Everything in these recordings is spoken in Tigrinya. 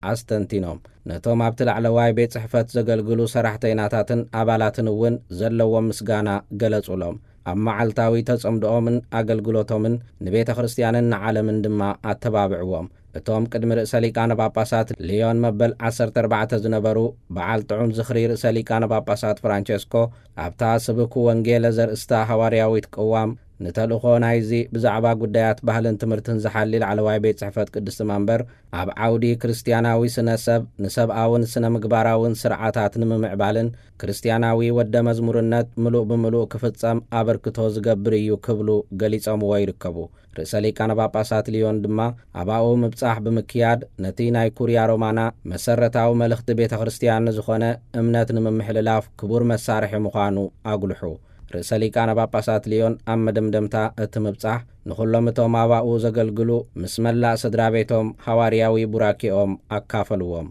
ኣስተንቲኖም። ነቶም ኣብቲ ላዕለዋይ ቤት ጽሕፈት ዘገልግሉ ሰራሕተይናታትን ኣባላትን እውን ዘለዎም ምስጋና ገለጹሎም። ኣብ መዓልታዊ ተጸምድኦምን ኣገልግሎቶምን ንቤተ ክርስቲያንን ንዓለምን ድማ ኣተባብዕዎም። እቶም ቅድሚ ርእሰ ሊቃነ ጳጳሳት ሊዮን መበል ዓሰርተ ኣርባዕተ ዝነበሩ በዓል ጥዑም ዝኽሪ ርእሰ ሊቃነ ጳጳሳት ፍራንቸስኮ፣ ኣብታ ስብኩ ወንጌለ ዘርእስታ ሃዋርያዊት ቅዋም፣ ንተልእኾ ናይዚ ብዛዕባ ጉዳያት ባህልን ትምህርትን ዝሓሊ ላዕለዋይ ቤት ጽሕፈት ቅድስቲ መንበር፣ ኣብ ዓውዲ ክርስትያናዊ ስነ ሰብ ንሰብኣውን ስነ ምግባራውን ስርዓታት ንምምዕባልን ክርስትያናዊ ወደ መዝሙርነት ምሉእ ብምሉእ ክፍጸም ኣበርክቶ ዝገብር እዩ ክብሉ ገሊጾምዎ ይርከቡ። ርእሰ ሊቃነ ጳጳሳት ሊዮን ድማ ኣባኡ ምብጻሕ ብምክያድ ነቲ ናይ ኩርያ ሮማና መሰረታዊ መልእኽቲ ቤተ ክርስቲያን ዝኾነ እምነት ንምምሕልላፍ ክቡር መሳርሒ ምዃኑ ኣጉልሑ። ርእሰ ሊቃነ ጳጳሳት ሊዮን ኣብ መደምደምታ እቲ ምብጻሕ ንኹሎም እቶም ኣባኡ ዘገልግሉ ምስ መላእ ስድራ ቤቶም ሃዋርያዊ ቡራኬኦም ኣካፈልዎም።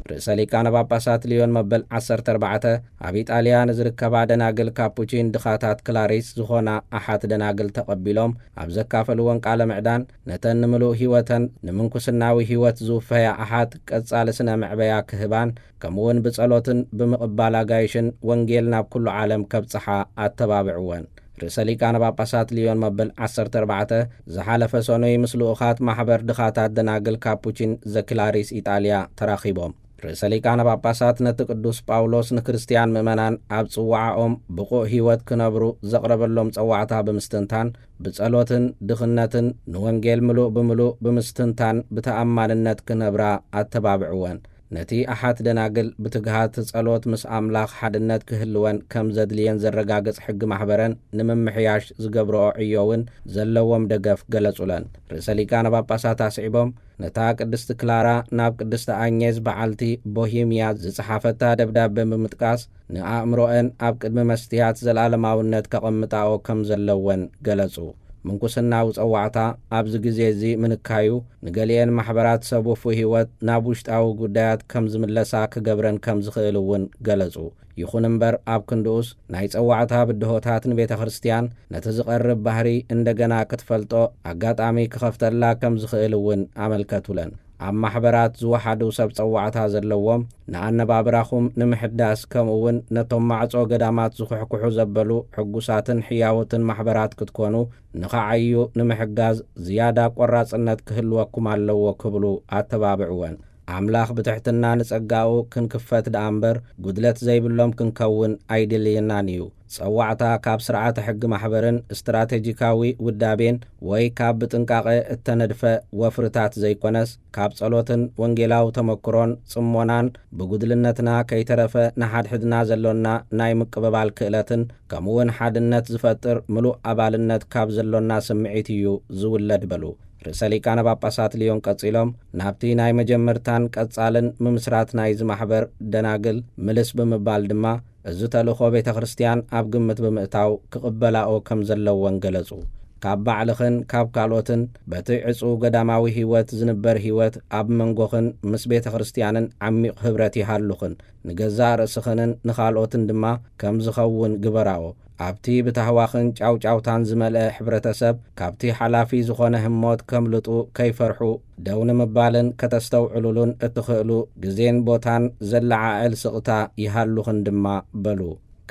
ርእሰ ሊቃነ ጳጳሳት ሊዮን መበል ዓሰርተ ኣርባዕተ ኣብ ኢጣልያ ንዝርከባ ደናግል ካፑቺን ድኻታት ክላሪስ ዝኾና ኣሓት ደናግል ተቐቢሎም ኣብ ዘካፈልዎን ቃለ ምዕዳን፣ ነተን ንምሉእ ህይወተን ንምንኩስናዊ ህይወት ዝውፈያ ኣሓት ቀጻሊ ስነ መዕበያ ክህባን ከምኡውን ብጸሎትን ብምቕባል ኣጋይሽን ወንጌል ናብ ኩሉ ዓለም ከብጽሓ ኣተባብዕወን። ርእሰ ሊቃነ ጳጳሳት ሊዮን መበል ዓሰርተ ኣርባዕተ ዝሓለፈ ሰኑይ ምስ ልኡኻት ማሕበር ድኻታት ደናግል ካፑቺን ዘክላሪስ ኢጣልያ ተራኺቦም። ርእሰ ሊቃነ ጳጳሳት ነቲ ቅዱስ ጳውሎስ ንክርስትያን ምእመናን ኣብ ጽዋዓኦም ብቑዕ ህይወት ክነብሩ ዘቕረበሎም ጸዋዕታ ብምስትንታን፣ ብጸሎትን ድኽነትን ንወንጌል ምሉእ ብምሉእ ብምስትንታን ብተኣማንነት ክነብራ ኣተባብዕወን። ነቲ ኣሓት ደናግል ብትግሃት ጸሎት ምስ ኣምላኽ ሓድነት ክህልወን ከም ዘድልየን ዘረጋግጽ ሕጊ ማሕበረን ንምምሕያሽ ዝገብርኦ ዕዮ እውን ዘለዎም ደገፍ ገለጹለን። ርእሰ ሊቃነ ጳጳሳት ኣስዒቦም፣ ነታ ቅድስቲ ክላራ ናብ ቅድስቲ ኣኘዝ በዓልቲ ቦሂምያ ዝጸሓፈታ ደብዳበ ብምጥቃስ፣ ንኣእምሮአን ኣብ ቅድሚ መስትያት ዘለኣለማውነት ከቐምጣኦ ከም ዘለወን ገለጹ። ምንኩስናዊ ጸዋዕታ ኣብዚ ግዜ እዚ ምንካዩ፣ ንገሊአን ማሕበራት ሰብ ውፉይ ህይወት ናብ ውሽጣዊ ጉዳያት ከም ዝምለሳ ክገብረን ከም ዝኽእል እውን ገለጹ። ይኹን እምበር፣ ኣብ ክንድኡስ ናይ ጸዋዕታ ብድሆታት ንቤተ ክርስቲያን ነቲ ዝቐርብ ባህሪ እንደገና ክትፈልጦ ኣጋጣሚ ክኸፍተላ ከም ዝኽእል እውን ኣመልከቱለን። ኣብ ማሕበራት ዝወሓዱ ሰብ ጸዋዕታ ዘለዎም፣ ንኣነባብራኹም ንምሕዳስ፣ ከምኡ እውን ነቶም ማዕጾ ገዳማት ዝኹሕኩሑ ዘበሉ ሕጉሳትን ሕያውትን ማሕበራት ክትኮኑ፣ ንኸዓዩ ንምሕጋዝ ዝያዳ ቆራጽነት ክህልወኩም ኣለዎ ክብሉ ኣተባብዕወን። ኣምላኽ ብትሕትና ንጸጋኡ ክንክፈት ደኣ እምበር፣ ጉድለት ዘይብሎም ክንከውን ኣይድልየናን እዩ። ጸዋዕታ ካብ ስርዓተ ሕጊ ማሕበርን ስትራቴጂካዊ ውዳቤን ወይ ካብ ብጥንቃቐ እተነድፈ ወፍርታት ዘይኮነስ፣ ካብ ጸሎትን ወንጌላዊ ተመክሮን ጽሞናን፣ ብጉድልነትና ከይተረፈ ንሓድሕድና ዘሎና ናይ ምቅብባል ክእለትን ከምኡውን ሓድነት ዝፈጥር ምሉእ ኣባልነት ካብ ዘሎና ስምዒት እዩ ዝውለድ በሉ። ርእሰ ሊቃነ ጳጳሳት ልዮን ቀጺሎም፣ ናብቲ ናይ መጀመርታን ቀጻልን ምምስራት ናይዚ ማሕበር ደናግል ምልስ ብምባል ድማ፣ እዚ ተልእኾ ቤተ ክርስቲያን ኣብ ግምት ብምእታው ክቕበላኦ ከም ዘለወን ገለጹ። ካብ ባዕልኽን ካብ ካልኦትን በቲ ዕጹው ገዳማዊ ህይወት ዝንበር ህይወት ኣብ መንጎኽን ምስ ቤተ ክርስቲያንን ዓሚቕ ህብረት ይሃሉኽን፣ ንገዛእ ርእስኽንን ንኻልኦትን ድማ ከም ዝኸውን ግበራኦ። ኣብቲ ብታህዋኽን ጫውጫውታን ዝመልአ ሕብረተሰብ፣ ካብቲ ሓላፊ ዝኾነ ህሞት ከምልጡ ከይፈርሑ፣ ደው ንምባልን ከተስተውዕሉሉን እትኽእሉ ግዜን ቦታን ዘለዓዕል ስቕታ ይሃሉኽን ድማ በሉ።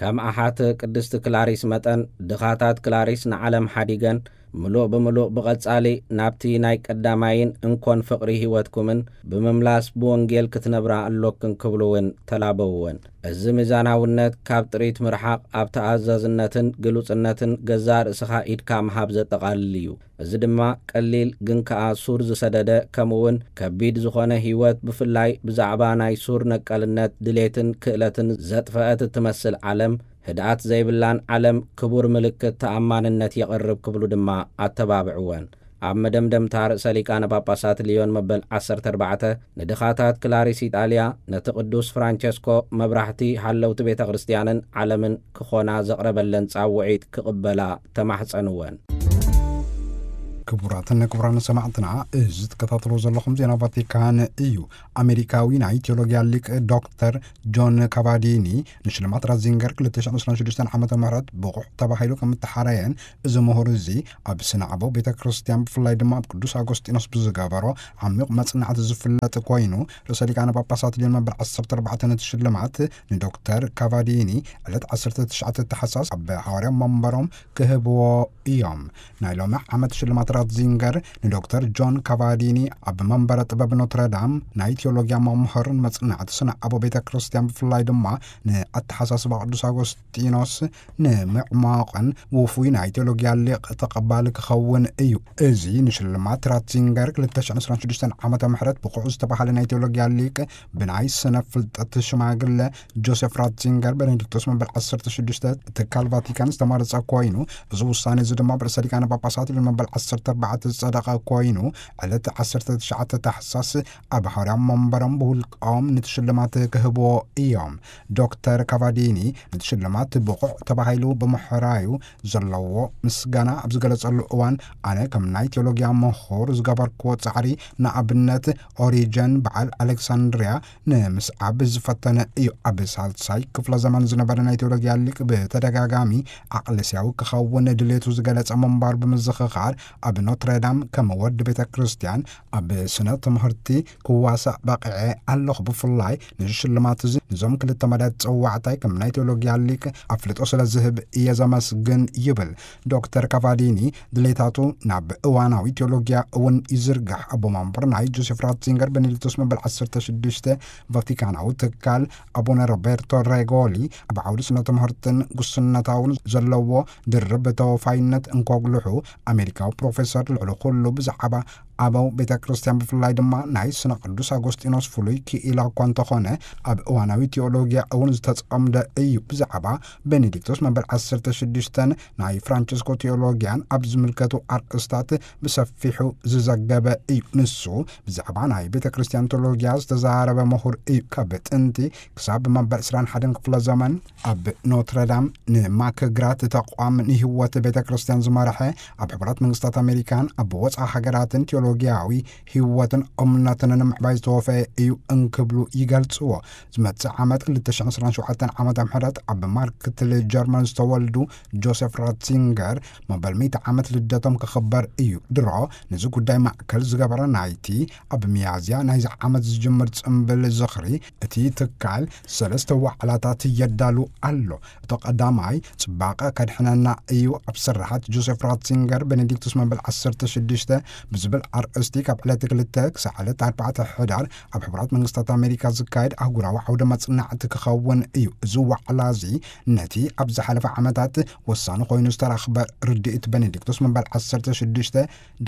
ከም ኣሓት ቅድስቲ ክላሪስ መጠን፣ ድኻታት ክላሪስ ንዓለም ሓዲገን፣ ምሉእ ብምሉእ ብቐጻሊ ናብቲ ናይ ቀዳማይን እንኮን ፍቕሪ ህይወትኩምን ብምምላስ ብወንጌል ክትነብራ ኣሎክን ክብሉ እውን ተላበውወን። እዚ ሚዛናውነት ካብ ጥሪት ምርሓቕ፣ ኣብ ተኣዛዝነትን ግሉጽነትን ገዛእ ርእስኻ ኢድካ ምሃብ ዘጠቓልል እዩ። እዚ ድማ ቀሊል ግን ከኣ ሱር ዝሰደደ፣ ከምኡውን ከቢድ ዝኾነ ህይወት፣ ብፍላይ ብዛዕባ ናይ ሱር ነቀልነት ድሌትን ክእለትን ዘጥፈአት እትመስል ዓለም፣ ህድኣት ዘይብላን ዓለም ክቡር ምልክት ተኣማንነት የቕርብ ክብሉ ድማ ኣተባብዕወን። ኣብ መደምደምታ ርእሰ ሊቃነ ጳጳሳት ልዮን መበል ዓሰርተ ኣርባዕተ ንድኻታት ክላሪስ ኢጣልያ፣ ነቲ ቅዱስ ፍራንቸስኮ መብራህቲ ሃለውቲ ቤተ ክርስቲያንን ዓለምን ክኾና ዘቕረበለን ጻውዒት ክቕበላ ተማሕጸንወን። ክቡራትን ክቡራን ሰማዕትና፣ እዚ ትከታተሉ ዘለኹም ዜና ቫቲካን እዩ። ኣሜሪካዊ ናይ ቴዎሎጊያ ሊቅ ዶክተር ጆን ካቫዲኒ ንሽልማት ራትዚንገር ክልተ ሽሕን ዕስራን ሽዱሽተን ዓመተ ምህረት ብቑዕ ተባሂሉ ከም እተሓረየን፣ እዚ ምሁር እዚ ኣብ ስነ ኣበው ቤተ ክርስቲያን፣ ብፍላይ ድማ ኣብ ቅዱስ ኣጎስጢኖስ ብዝገበሮ ዓሚቕ መጽናዕቲ ዝፍለጥ ኮይኑ፣ ርእሰ ሊቃነ ጳጳሳት ሊዮን መበል ዓሰርተ ኣርባዕተ ነቲ ሽልማት ንዶክተር ካቫዲኒ ዕለት ዓሰርተ ትሽዓተ ታሕሳስ ኣብ ሃዋርያ መንበሮም ክህብዎ እዮም። ናይ ሎሚ ዓመት ሽልማት ራትዚንገር ንዶክተር ጆን ካቫዲኒ ኣብ መንበረ ጥበብ ኖትረዳም ናይ ቴዎሎጊያ መምህርን መጽናዕቲ ስነ ኣበው ቤተ ክርስቲያን፣ ብፍላይ ድማ ንኣተሓሳስባ ቅዱስ ኣጎስጢኖስ ንምዕማቕን ውፉይ ናይ ቴዎሎጊያ ሊቅ ተቐባሊ ክኸውን እዩ። እዚ ንሽልማት ራትዚንገር ክልተ ሽሕን ዕስራን ሽዱሽተን ዓመተ ምህረት ብቑዕ ዝተባህለ ናይ ቴዎሎጊያ ሊቅ ብናይ ስነ ፍልጠት ሽማግለ ጆሴፍ ራትዚንገር ቤኔዲክቶስ መበል ዓሰርተ ሽዱሽተ ትካል ቫቲካን ዝተመረጸ ኮይኑ፣ እዚ ውሳኔ እዚ ድማ ብርእሰ ሊቃነ ጳጳሳት ሊዮን መበል ዓሰርተ ኣርባዕተ ዝጸደቐ ኮይኑ፣ ዕለት ዓሰርተ ትሽዓተ ታሕሳስ ኣብ ሃዋርያ መንበሮም ብውልቆም ነቲ ሽልማት ክህብዎ እዮም። ዶክተር ካቫዲኒ ነቲ ሽልማት ብቑዕ ተባሂሉ ብምሕራዩ ዘለዎ ምስጋና ኣብ ዝገለጸሉ እዋን፣ ኣነ ከም ናይ ቴዎሎጊያ ምሁር ዝገበርክዎ ጻዕሪ፣ ንኣብነት ኦሪጀን በዓል ኣሌክሳንድርያ ንምስዓብ ዝፈተነ እዩ። ኣብ ሳልሳይ ክፍለ ዘመን ዝነበረ ናይ ቴዎሎጊያ ሊቅ ብተደጋጋሚ ዓቕለስያዊ ክኸውን ድሌቱ ዝገለጸ ምንባሩ ብምዝኽኻር፣ ኣብ ኖትረዳም ከም ወዲ ቤተ ክርስቲያን ኣብ ስነ ትምህርቲ ክዋሳእ በቒዐ ኣለኹ። ብፍላይ ነዚ ሽልማት እዚ ነዞም ክልተ መዳያት ጸዋዕታይ ከም ናይ ቴዎሎጊያ ሊቅ ኣፍልጦ ስለ ዝህብ እየ ዘመስግን ይብል። ዶክተር ካቫዲኒ ድሌታቱ ናብ እዋናዊ ቴዎሎጊያ እውን ይዝርጋሕ። ኣቦ መንበር ናይ ጆሴፍ ራትዚንገር ቤኔዲክቶስ መበል ዓሰርተ ሽዱሽተ ቫቲካናዊ ትካል ኣቡነ ሮቤርቶ ሬጎሊ ኣብ ዓውዲ ስነ ትምህርትን ጉስነታውን ዘለዎ ድርብ ተወፋይነት እንኮጉልሑ፣ ኣሜሪካዊ ፕሮፌሰር ልዕሊ ኩሉ ብዛዕባ ኣበው ቤተ ክርስቲያን፣ ብፍላይ ድማ ናይ ስነ ቅዱስ ኣጎስጢኖስ ፍሉይ ክኢላ እኳ እንተኾነ፣ ኣብ እዋናዊ ቴዎሎጊያ እውን ዝተጸምደ እዩ። ብዛዕባ ቤኔዲክቶስ መበል ዓሰርተ ሽዱሽተን ናይ ፍራንቸስኮ ቴዎሎጊያን ኣብ ዝምልከቱ ኣርእስታት ብሰፊሑ ዝዘገበ እዩ። ንሱ ብዛዕባ ናይ ቤተ ክርስቲያን ቴዎሎጊያ ዝተዛረበ ምሁር እዩ። ካብ ጥንቲ ክሳብ መበል ዕስራን ሓደን ክፍለ ዘመን ኣብ ኖትረዳም ንማክግራት ተቋም ንህይወት ቤተ ክርስቲያን ዝመርሐ፣ ኣብ ሕቡራት መንግስታት ኣሜሪካን ኣብ ወፃኢ ሃገራትን ቴዎሎጊያዊ ህይወትን እምነትን ንምዕባይ ዝተወፈየ እዩ እንክብሉ ይገልጽዎ። ዝመጽእ ዓመት ክልተ ሽሕን ዕስራን ሸውዓተን ዓመተ ምህረት ኣብ ማርክትል ጀርመን ዝተወልዱ ጆሴፍ ራትዚንገር መበል ሚእቲ ዓመት ልደቶም ክኽበር እዩ። ድሮ ነዚ ጉዳይ ማእከል ዝገበረ ናይቲ ኣብ ሚያዝያ ናይዚ ዓመት ዝጅምር ጽምብል ዝኽሪ፣ እቲ ትካል ሰለስተ ዋዕላታት የዳሉ ኣሎ። እቶ ቀዳማይ፣ ጽባቐ ከድሕነና እዩ፣ ኣብ ስርሓት ጆሴፍ ራትዚንገር ቤኔዲክቱስ መበል ዓሰርተ ሽዱሽተ ብዝብል ኣርእስቲ፣ ካብ ዕለት ክልተ ክሳዕ ዕለት ኣርባዕተ ሕዳር ኣብ ሕቡራት መንግስታት ኣሜሪካ ዝካየድ ኣህጉራዊ ዓውደ መጽናዕቲ ክኸውን እዩ። እዚ ዋዕላ እዚ ነቲ ኣብ ዝሓለፈ ዓመታት ወሳኒ ኮይኑ ዝተረኽበ ርድኢት ቤኔዲክቱስ መበል ዓሰርተ ሽዱሽተ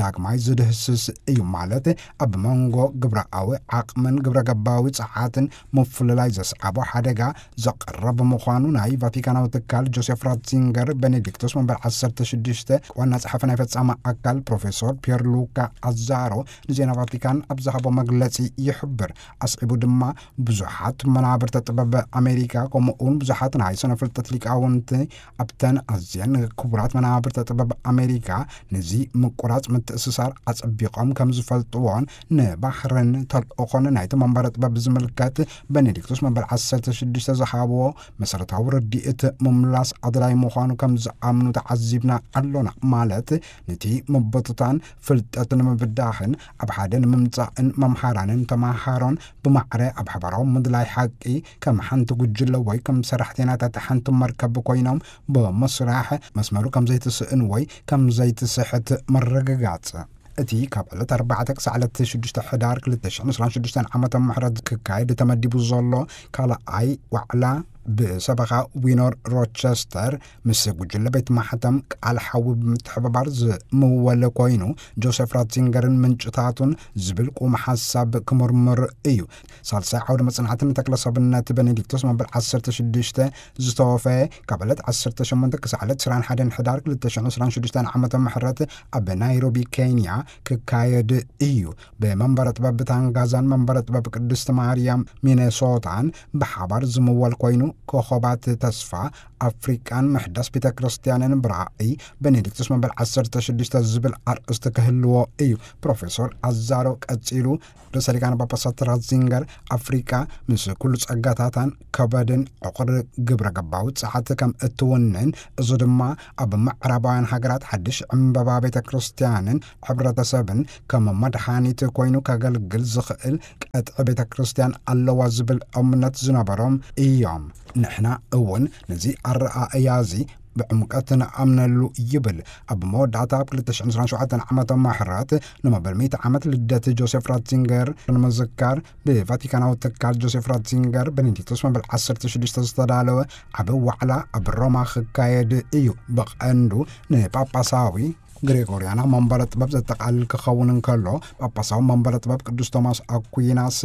ዳግማይ ዝድህስስ እዩ። ማለት፣ ኣብ መንጎ ግብራዊ ዓቕምን ግብረ ገባዊ ጸዓትን ምፍልላይ ዘስዓቦ ሓደጋ ዘቕርብ ምዃኑ ናይ ቫቲካናዊ ትካል ጆሴፍ ራትዚንገር ቤኔዲክቱስ መበል ዓሰርተ ሽዱሽተ ዋና ጸሓፊ ናይ ፈጻሚ ኣካል ፕሮፌሰር ፒየር ሉካ ኣዛሮ ንዜና ቫቲካን ኣብ ዝሃቦ መግለጺ ይሕብር። ኣስዒቡ ድማ፣ ብዙሓት መናብርተ ጥበብ ኣሜሪካ፣ ከምኡ እውን ብዙሓት ናይ ስነ ፍልጠት ሊቃውንቲ ኣብተን ኣዝየን ክቡራት መናብርተ ጥበብ ኣሜሪካ፣ ነዚ ምቁራጽ ምትእስሳር ኣጸቢቖም ከም ዝፈልጥዎን፣ ንባህርን ተልእኾን ናይቲ መንበረ ጥበብ ብዝምልከት፣ ቤኔዲክቱስ መበል ዓሰርተ ሽዱሽተ ዝሃብዎ መሰረታዊ ርድኢት ምምላስ ኣድላይ ምዃኑ ከም ዝኣምኑ ተዓዚብና ኣሎና። ማለት፣ ነቲ ምብትታን ፍልጠት ንምብዳህን ኣብ ሓደ ንምምጻእን፣ መምሃራንን ተማሃሮን ብማዕረ ኣብ ሓባራዊ ምድላይ ሓቂ ከም ሓንቲ ጉጅለ ወይ ከም ሰራሕተኛታት ሓንቲ መርከብ ኮይኖም ብምስራሕ፣ መስመሩ ከም ዘይትስእን ወይ ከም ዘይትስሕት ምርግጋጽ። እቲ ካብ ዕለት ኣርባዕተ ክሳዕ ዕለት ሽዱሽተ ሕዳር ክልተ ሽሕን ዕስራን ሽዱሽተን ዓመተ ምሕረት ክካየድ ተመዲቡ ዘሎ ካልኣይ ዋዕላ፣ ብሰበኻ ዊኖር ሮቸስተር ምስ ጉጅለ ቤት ማሕተም ቃል ሓዊ ብምትሕብባር ዝምወለ ኮይኑ፣ ጆሴፍ ራትዚንገርን ምንጭታቱን ዝብል ቁም ሓሳብ ክምርምር እዩ። ሳልሳይ ዓውደ መጽናዕቲ ንተክለ ሰብነት ቤኔዲክቶስ መበል ዓሰርተ ሽዱሽተ ዝተወፈየ፣ ካብ ዕለት ዓሰርተ ሸሞንተ ክሳዕ ዕለት ዕስራን ሓደን ሕዳር ክልተ ሽሕን ዕስራን ሽዱሽተን ዓመተ ምሕረት ኣብ ናይሮቢ ኬንያ ክካየድ እዩ። ብመንበረ ጥበብ ታንጋዛን መንበረ ጥበብ ቅድስቲ ማርያም ሚኔሶታን ብሓባር ዝምወል ኮይኑ፣ ኮኸባት ተስፋ ኣፍሪቃን ምሕዳስ ቤተ ክርስቲያንን ብራእይ ቤኔዲክቱስ መበል ዓሰርተ ሽዱሽተ ዝብል ኣርእስቲ ክህልዎ እዩ። ፕሮፌሰር ኣዛሮ ቀጺሉ፣ ርእሰ ሊቃነ ጳጳሳት ራትዚንገር፣ ኣፍሪቃ ምስ ኩሉ ጸጋታታን ከበድን ዕቑር ግብረ ገባዊ ጸዓት ከም እትውንን፣ እዚ ድማ ኣብ ምዕራባውያን ሃገራት ሓድሽ ዕምበባ ቤተ ክርስቲያንን ሕብረተሰብን ከም መድሃኒት ኮይኑ ከገልግል ዝኽእል ቀጥዒ ቤተ ክርስቲያን ኣለዋ ዝብል እምነት ዝነበሮም እዮም። ንሕና እውን ነዚ ኣረኣእያ እዚ ብዕምቀት ንኣምነሉ ይብል። ኣብ መወዳእታ ኣብ ክልተ ሽሕን ዕስራን ሸውዓተን ዓመተ ምሕረት ንመበል ሚእቲ ዓመት ልደት ጆሴፍ ራትዚንገር ንምዝካር ብቫቲካናዊ ትካል ጆሴፍ ራትዚንገር ቤኔዲክቶስ መበል ዓሰርተ ሽዱሽተ ዝተዳለወ ዓቢ ዋዕላ ኣብ ሮማ ክካየድ እዩ። ብቐንዱ ንጳጳሳዊ ግሬጎርያና መንበረ ጥበብ ዘጠቓልል ክኸውን እንከሎ፣ ጳጳሳዊ መንበረ ጥበብ ቅዱስ ቶማስ ኣኩይናስ፣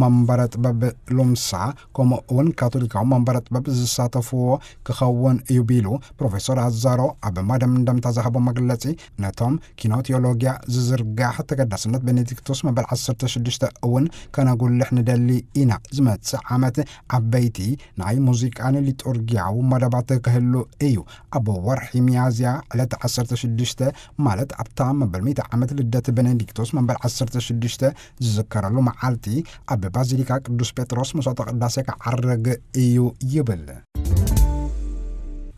መንበረ ጥበብ ሉምሳ፣ ከምኡ እውን ካቶሊካዊ መንበረ ጥበብ ዝሳተፍዎ ክኸውን እዩ ቢሉ፣ ፕሮፌሰር ኣዛሮ ኣብ መደምደምታ ዝሃቦ መግለጺ፣ ነቶም ኪኖ ቴዎሎጊያ ዝዝርጋሕ ተገዳስነት ቤኔዲክቶስ መበል ዓሰርተ ሽዱሽተ እውን ከነጉልሕ ንደሊ ኢና። ዝመጽእ ዓመት ዓበይቲ ናይ ሙዚቃን ሊጡርጊያዊ መደባት ክህሉ እዩ። ኣብ ወርሒ ሚያዝያ ዕለት ዓሰርተ ሽዱሽተ፣ ማለት ኣብታ መበል ሚእቲ ዓመት ልደት ቤኔዲክቶስ መበል ዓሰርተ ሽዱሽተ ዝዝከረሉ መዓልቲ፣ ኣብ ባዚሊካ ቅዱስ ጴጥሮስ መስዋዕተ ቅዳሴ ክዓርግ እዩ ይብል።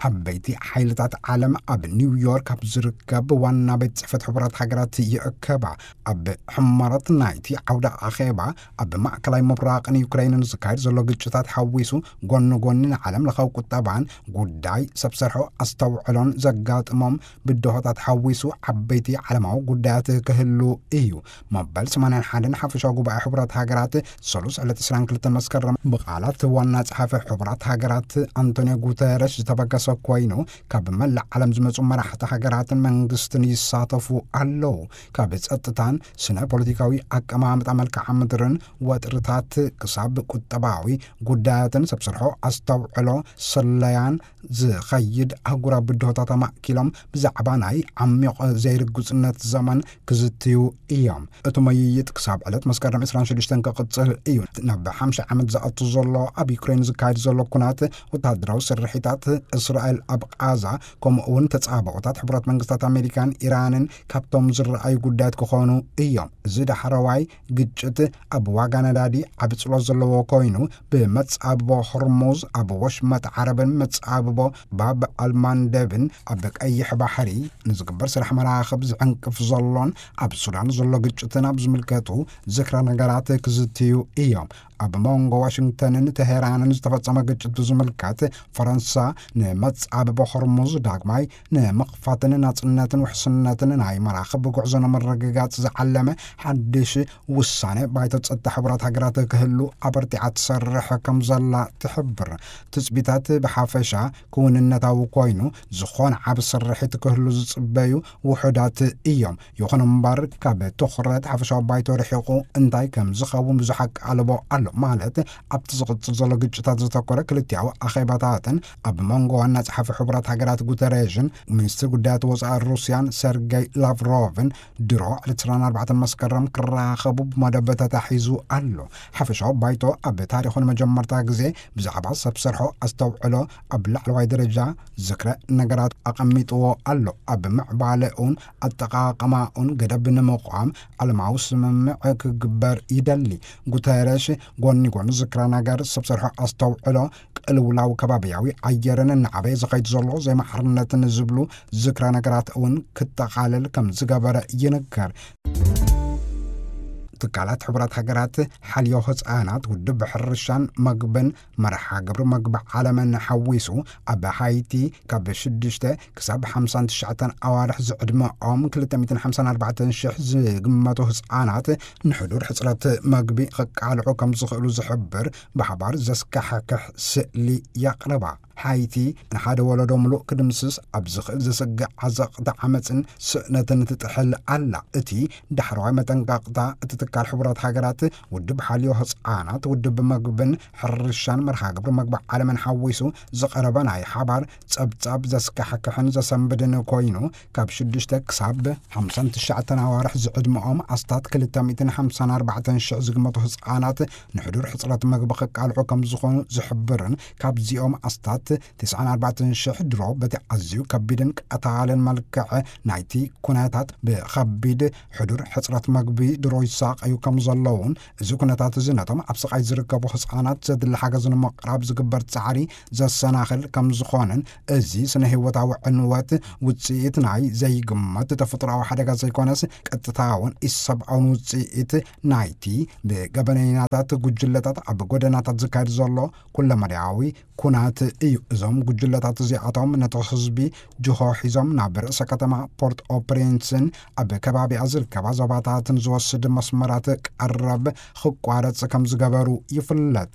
ዓበይቲ ሓይልታት ዓለም ኣብ ኒውዮርክ ኣብ ዝርከብ ዋና ቤት ጽሕፈት ሕቡራት ሃገራት ይእከባ። ኣብ ሕመረት ናይቲ ዓውደ ኣኼባ፣ ኣብ ማእከላይ ምብራቕን ዩክሬንን ዝካየድ ዘሎ ግጭታት ሓዊሱ፣ ጎኒ ጎኒ ንዓለም ለኻዊ ቁጠባን ጉዳይ ሰብ ሰርሖ ኣስተውዕሎን ዘጋጥሞም ብድሆታት ሓዊሱ ዓበይቲ ዓለማዊ ጉዳያት ክህሉ እዩ። መበል ሰማንያን ሓደን ሓፈሻዊ ጉባኤ ሕቡራት ሃገራት ሰሉስ ዕለት ዕስራን ክልተን መስከረም ብቓላት ዋና ጸሓፊ ሕቡራት ሃገራት ኣንቶኒዮ ጉተረሽ ዝተበገሰ ኮይኑ፣ ካብ መላእ ዓለም ዝመጹ መራሕቲ ሃገራትን መንግስትን ይሳተፉ ኣለዉ። ካብ ጸጥታን ስነ ፖለቲካዊ ኣቀማምጣ መልክዓ ምድርን ወጥርታት ክሳብ ቁጠባዊ ጉዳያትን ሰብ ሰርሖ ኣስተውዕሎ ስለያን ዝኸይድ ኣህጉራዊ ብድሆታት ኣማእኪሎም ብዛዕባ ናይ ዓሚቕ ዘይርግጽነት ዘመን ክዝትዩ እዮም። እቲ ምይይጥ ክሳብ ዕለት መስከረም ዕስራን ሽዱሽተን ክቕጽል እዩ። ናብ ሓምሳ ዓመት ዝኣቱ ዘሎ ኣብ ዩክሬን ዝካየድ ዘሎ ኩናት፣ ወተሃደራዊ ስርሒታት እስራኤል ኣብ ቓዛ፣ ከምኡ እውን ተጻባኦታት ሕቡራት መንግስታት ኣሜሪካን ኢራንን ካብቶም ዝረኣዩ ጉዳያት ክኾኑ እዮም። እዚ ዳሕረዋይ ግጭት ኣብ ዋጋ ነዳዲ ዓቢ ጽልዋ ዘለዎ ኮይኑ፣ ብመጻብቦ ሆርሙዝ፣ ኣብ ወሽመጥ ዓረብን መጻብቦ ባብ ኣልማንደብን ኣብ ቀይሕ ባሕሪ ንዝግበር ስራሕ መራኽብ ዝዕንቅፍ ዘሎን ኣብ ሱዳን ዘሎ ግጭትን ኣብ ዝምልከቱ ዝክረ ነገራት ክዝትዩ እዮም። ኣብ መንጎ ዋሽንግተንን ተሄራንን ዝተፈጸመ ግጭት ብዝምልከት፣ ፈረንሳ ንመጻብቦ ሆርሙዝ ዳግማይ ንምኽፋትን ናጽነትን ውሕስነትን ናይ መራኽብ ጉዕዞ ንምርግጋጽ ዝዓለመ ሓድሽ ውሳነ ባይቶ ጸጥታ ሕቡራት ሃገራት ክህሉ ኣበርቲዓ ትሰርሕ ከም ዘላ ትሕብር። ትጽቢታት ብሓፈሻ ክውንነታዊ ኮይኑ፣ ዝኾነ ዓቢ ስርሒት ክህሉ ዝጽበዩ ውሑዳት እዮም። ይኹን እምበር፣ ካብ ትኹረት ሓፈሻዊ ባይቶ ርሒቑ እንታይ ከም ዝኸውን ብዙሕ ኣቃልቦ ኣሎ። ማለት፣ ኣብቲ ዝቕጽል ዘሎ ግጭታት ዘተኮረ ክልቲኣዊ ኣኼባታትን ኣብ መንጎ ዋና ጸሓፊ ሕቡራት ሃገራት ጉተሬዥን ሚኒስትር ጉዳያት ወጻኢ ሩስያን ሰርጌይ ላቭሮቭን ድሮ ዕለት ዕስራን ኣርባዕተን መስከረም ክራኸቡ ብመደብ ተታሒዙ ኣሎ። ሓፈሻዊ ባይቶ ኣብ ታሪኹ ንመጀመርታ ግዜ ብዛዕባ ሰብ ሰርሖ ኣስተውዕሎ ኣብ ላዕለዋይ ደረጃ ዝክረ ነገራት ኣቐሚጥዎ ኣሎ። ኣብ ምዕባለኡን ኣጠቓቕማኡን ገደብ ንምቋም ዓለማዊ ስምምዕ ክግበር ይደሊ። ጉተረሽ ጎኒ ጎኒ ዝክረ ነገር ሰብ ሰርሖ ኣስተውዕሎ፣ ቅልውላው ከባቢያዊ ኣየርን እናዓበየ ዝኸይድ ዘሎ ዘይማዕርነትን ዝብሉ ዝክረ ነገራት እውን ክጠቓለል ከም ዝገበረ ይንገር። ትካላት ሕቡራት ሃገራት ሓልዮ ህፃናት፣ ውድብ ሕርሻን መግብን መርሓ ግብሪ መግቢ ዓለምን ሓዊሱ ኣብ ሃይቲ ካብ ሽዱሽተ ክሳብ ሓምሳን ትሽዓተን ኣዋርሕ ዝዕድመኦም ክልተ ሚእትን ሓምሳን ኣርባዕተን ሽሕ ዝግመቱ ህፃናት ንሕዱር ሕፅረት መግቢ ክቃልዑ ከም ዝኽእሉ ዝሕብር ብሓባር ዘስካሕክሕ ስእሊ የቕርባ። ሓይቲ ንሓደ ወለዶ ምሉእ ክድምስስ ኣብ ዝኽእል ዘስግእ ዓዘቕቲ ዓመፅን ስእነትን ትጥሕል ኣላ። እቲ ዳሕረዋይ መጠንቀቕታ እቲ ትካል ሕቡራት ሃገራት ውድብ ሓልዮ ህፃናት፣ ውድብ መግብን ሕርሻን መርሃ ግብሪ መግቢ ዓለምን ሓዊሱ ዝቐረበ ናይ ሓባር ጸብጻብ ዘስካሕክሕን ዘሰንብድን ኮይኑ፣ ካብ ሽዱሽተ ክሳብ ሓምሳን ትሽዓተን ኣዋርሕ ዝዕድመኦም ኣስታት ክልተ ሚእትን ሓምሳን ኣርባዕተን ሽሕ ዝግመቱ ህፃናት ንሕዱር ሕፅረት መግቢ ክቃልዑ ከም ዝኾኑ ዝሕብርን፣ ካብዚኦም ኣስታት ተስዓን ኣርባዕተን ሽሕ ድሮ በቲ ኣዝዩ ከቢድን ቀታልን መልክዕ ናይቲ ኩነታት ብኸቢድ ሕዱር ሕፅረት መግቢ ድሮ ይሳቐዩ ከም ዘለውን፣ እዚ ኩነታት እዚ ነቶም ኣብ ስቓይ ዝርከቡ ህፃናት ዘድሊ ሓገዝ ንምቕራብ ዝግበር ጻዕሪ ዘሰናኽል ከም ዝኾነን፣ እዚ ስነ ህይወታዊ ዕንወት ውጽኢት ናይ ዘይግመት ተፈጥሮኣዊ ሓደጋ ዘይኮነስ፣ ቀጥታውን ኢሰብኣውን ውጽኢት ናይቲ ብገበነኛታት ጉጅለታት ኣብ ጎደናታት ዝካየድ ዘሎ ኩለመዳያዊ ኩናት እዩ። እዞም ጉጅለታት እዚኣቶም ነቲ ህዝቢ ጅሆ ሒዞም ናብ ርእሰ ከተማ ፖርት ኦፕሬንስን ኣብ ከባቢኣ ዝርከባ ዞባታትን ዝወስድ መስመራት ቀረብ ክቋረጽ ከም ዝገበሩ ይፍለጥ።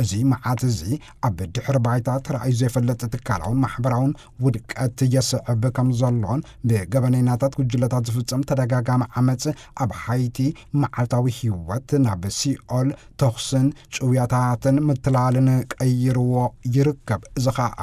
እዚ መዓት እዚ ኣብ ድሕሪ ባይታ ተራእዩ ዘይፈልጥ ትካላውን ማሕበራውን ውድቀት የስዕብ ከም ዘሎን፣ ብገበነኛታት ጉጅለታት ዝፍጸም ተደጋጋሚ ዓመጽ ኣብ ሃይቲ መዓልታዊ ህይወት ናብ ሲኦል፣ ተኹስን ጭውያታትን ምትላልን ቀይርዎ ይርከብ። እዚ ኸኣ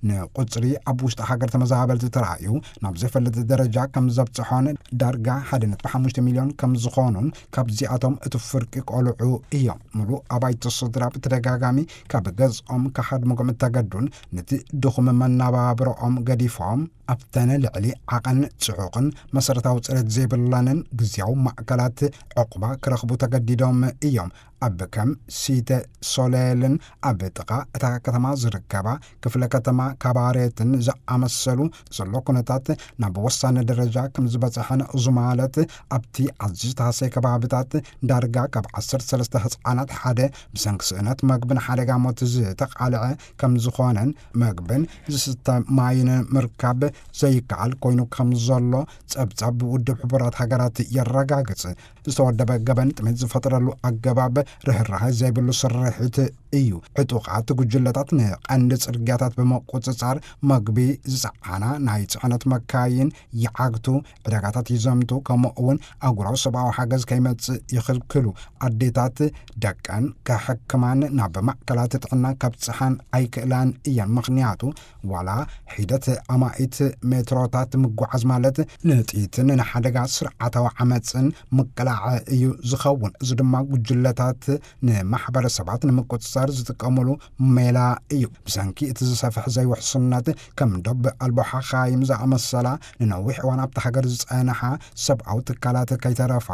ንቁጽሪ ኣብ ውሽጢ ሃገር ተመዛበልቲ ተራእዩ ናብ ዘይፈልጥ ደረጃ ከም ዘብጽሖን፣ ዳርጋ ሓደ ነጥቢ ሓሙሽተ ሚልዮን ከም ዝኾኑን፣ ካብዚኣቶም እቲ ፍርቂ ቆልዑ እዮም። ሙሉእ ኣባይቲ ስድራ ብተደጋጋሚ ካብ ገዝኦም ክሃድምዎም እተገዱን፣ ነቲ ድኹም መነባብሮኦም ገዲፎም ኣብተን ልዕሊ ዓቐን ጽዑቕን መሰረታዊ ጽሬት ዘይብለንን ግዝያዊ ማእከላት ዕቑባ ክረኽቡ ተገዲዶም እዮም። ኣብ ከም ሲተ ሶሌልን ኣብ ጥቓ እታ ከተማ ዝርከባ ክፍለ ከተማ ካባሬትን ዝኣመሰሉ ዘሎ ኩነታት ናብ ወሳኒ ደረጃ ከም ዝበጽሐን፣ እዚ ማለት ኣብቲ ኣዝዩ ዝተሃሰየ ከባቢታት ዳርጋ ካብ ዓሰርተ ሰለስተ ህጻናት ሓደ ብሰንኪ ስእነት መግብን ሓደጋ ሞት ዝተቓልዐ ከም ዝኾነን፣ መግብን ዝስተ ማይን ምርካብ ዘይከኣል ኮይኑ ከም ዘሎ ጸብጻብ ውድብ ሕቡራት ሃገራት የረጋግጽ። ዝተወደበ ገበን ጥሜት ዝፈጥረሉ ኣገባብ ርህራሄ ዘይብሉ ስርሒት እዩ። ዕጡቓት ጉጅለታት ንቐንዲ ጽርግያታት ብምቁጽጻር፣ መግቢ ዝጸዓና ናይ ጽዕነት መካይን ይዓግቱ፣ ዕዳጋታት ይዘምቱ፣ ከምኡ እውን ኣህጉራዊ ሰብኣዊ ሓገዝ ከይመጽእ ይኽልክሉ። ኣዴታት ደቀን ከሕክማን ናብ ማእከላት ጥዕና ከብጽሓን ኣይክእላን እየን። ምኽንያቱ ዋላ ሒደት ኣማኢት ሜትሮታት ምጉዓዝ ማለት ንጥይትን ንሓደጋ ስርዓታዊ ዓመጽን ምቅላዕ እዩ ዝኸውን። እዚ ድማ ጉጅለታት ንማሕበረሰባት ንምቁጽጻር ዝጥቀሙሉ ሜላ እዩ። ብሰንኪ እቲ ዝሰፍሕ ዘይውሕስነት፣ ከም ዶብ ኣልቦ ሓኻይም ዝኣመሰላ ንነዊሕ እዋን ኣብታ ሃገር ዝጸንሓ ሰብኣዊ ትካላት ከይተረፋ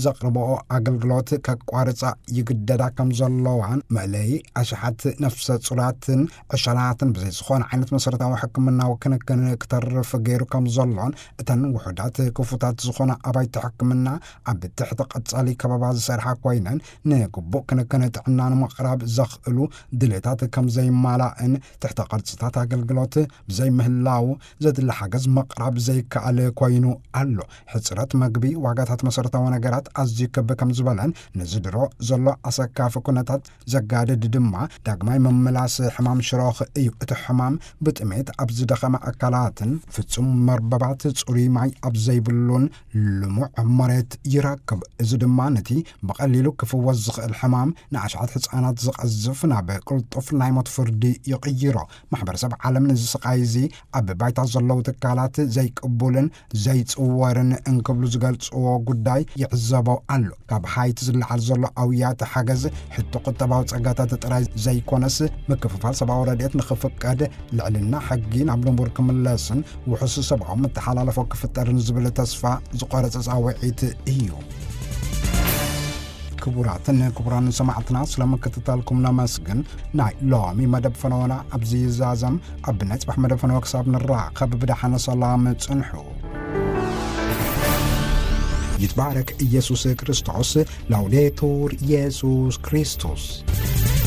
ዘቕርብኦ ኣገልግሎት ከቋርጻ ይግደዳ ከም ዘለዋን፣ መእለዪ ኣሽሓት ነፍሰ ጹራትን ዕሸላትን ብዘይ ዝኾነ ዓይነት መሰረታዊ ሕክምናዊ ክንክን ክተርፍ ገይሩ ከም ዘሎን፣ እተን ውሑዳት ክፉታት ዝኾና ኣባይቲ ሕክምና ኣብ ትሕቲ ቀጻሊ ከበባ ዝሰርሓ ኮይነን፣ ንግቡእ ክንክን ጥዕና ንምቕራብ ዘኽእሉ ድሌታት ከም ዘይማላእን፣ ትሕተ ቅርጽታት ኣገልግሎት ብዘይምህላው ዘድሊ ሓገዝ ምቕራብ ዘይከኣል ኮይኑ ኣሎ። ሕጽረት መግቢ፣ ዋጋታት መሰረታዊ ነገራት ኣዝዩ ክብ ከም ዝበለን፣ ነዚ ድሮ ዘሎ ኣሰካፊ ኩነታት ዘጋድድ ድማ ዳግማይ ምምላስ ሕማም ሽሮኽ እዩ። እቲ ሕማም ብጥሜት ኣብ ዝደኸመ ኣካላትን ፍጹም መርበባት ጽሩይ ማይ ኣብ ዘይብሉን ልሙዕ መሬት ይረክብ። እዚ ድማ ነቲ ብቐሊሉ ክፍወስ ዝኽእል ሕማም ንኣሽሓት ህጻናት ዝቐዝፍ ናብ ቅልጡፍ ናይ ሞት ፍርዲ ይቕይሮ። ማሕበረሰብ ዓለም ነዚ ስቓይ እዚ ኣብ ባይታ ዘለዉ ትካላት ዘይቅቡልን ዘይጽወርን እንክብሉ ዝገልጽዎ ጉዳይ ይዕዘቦ ኣሎ። ካብ ሃይቲ ዝለዓል ዘሎ ኣውያት ሓገዝ ሕቶ ቁጠባዊ ጸጋታት ጥራይ ዘይኮነስ፣ ምክፍፋል ሰብኣዊ ረድኤት ንኽፍቀድ፣ ልዕልና ሕጊ ናብ ንቡር ክምለስን ውሑስ ሰብኣዊ መተሓላለፎ ክፍጠርን ዝብል ተስፋ ዝቖረጸ ጻውዒት እዩ። ክቡራትን ክቡራን ሰማዕትና፣ ስለ ምክትታልኩም ነመስግን። ናይ ሎሚ መደብ ፈነወና ኣብዚ ይዛዘም። ኣብ ናይ ጽባሕ መደብ ፈነወ ክሳብ ንራኸብ ብደሓን ሰላም ጽንሑ። ይትባረክ ኢየሱስ ክርስቶስ። ላውዴቱር ኢየሱስ ክርስቶስ።